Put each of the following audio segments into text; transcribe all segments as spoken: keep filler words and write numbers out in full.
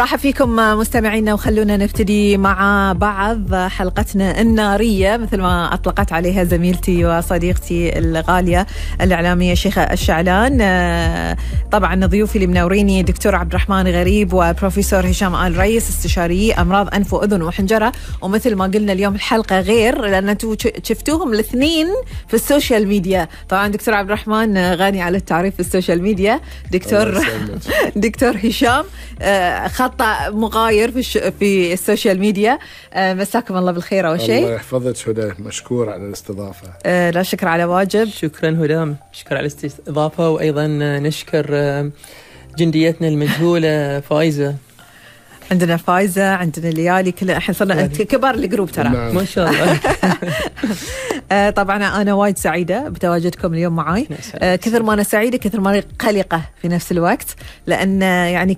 راح فيكم مستمعينا، وخلونا نبتدي مع بعض حلقتنا النارية مثل ما أطلقت عليها زميلتي وصديقتي الغالية الإعلامية شيخة الشعلان. طبعا ضيوفي اللي منوريني دكتور عبد الرحمن غريب وبروفيسور هشام آل رئيس استشاري أمراض أنف وأذن وحنجرة. ومثل ما قلنا اليوم الحلقة غير لأن أنتوا شفتوهم الاثنين في السوشيال ميديا. طبعا دكتور عبد الرحمن غني على التعريف في السوشيال ميديا، دكتور دكتور هشام خط مغاير في الش... في السوشيال ميديا. مساكم الله بالخير أول شيء. الله يحفظك هدى، مشكور على الاستضافة. أه لا شكر على واجب. شكرا هدام، شكرا على الاستضافة، وأيضا نشكر جنديتنا المجهولة فايزة. عندنا فايزة، عندنا ليالي، كل احنا صرنا كبار الجروب ترى. نعم. ما شاء الله. آه طبعا أنا وايد سعيدة بتواجدكم اليوم معاي. آه كثر ما أنا سعيدة كثر ما أنا قلقة في نفس الوقت، لأن يعني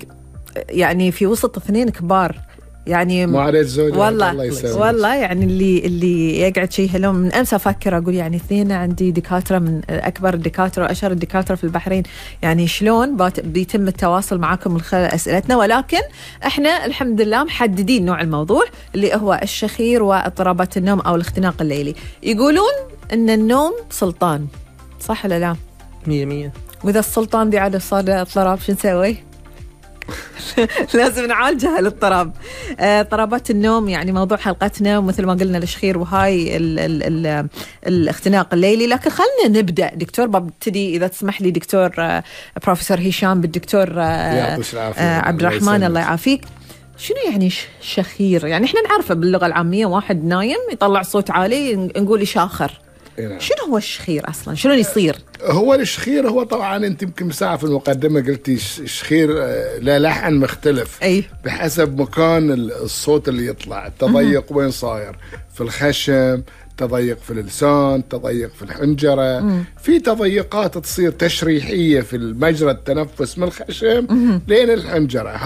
يعني في وسط اثنين كبار، يعني ما عليك زوجة والله الله والله يعني اللي اللي يقعد شيء هلوم من أمس أفكر أقول يعني اثنين عندي دكاترة من أكبر الدكاترة وأشهر الدكاترة في البحرين، يعني شلون بيتم التواصل معكم من خلال أسئلتنا. ولكن إحنا الحمد لله محددين نوع الموضوع اللي هو الشخير واضطرابات النوم أو الاختناق الليلي. يقولون إن النوم سلطان، صح ولا لا؟ مية مية. وإذا السلطان دي عادة صار اضطراب شو نسوي؟ لازم نعالجها الاضطراب. اضطرابات النوم يعني موضوع حلقتنا، ومثل ما قلنا الشخير وهاي ال ال ال الاختناق الليلي. لكن خلنا نبدأ دكتور، ببتدي إذا تسمح لي دكتور بروفيسور هشام بالدكتور عبد الرحمن الله يعافيك. شنو يعني شخير؟ يعني احنا نعرفه باللغة العامية واحد نايم يطلع صوت عالي نقول يشاخر. شنو هو الشخير أصلاً؟ شلون يصير؟ هو الشخير هو طبعاً أنت يمكن مساعة في المقدمة قلتي الشخير لا لحن مختلف أي. بحسب مكان الصوت اللي يطلع. التضيق وين صاير؟ في الخشم، تضيق في اللسان، تضيق في الحنجرة. مم. في تضيقات تصير تشريحية في المجرى التنفس من الخشم لين الحنجرة.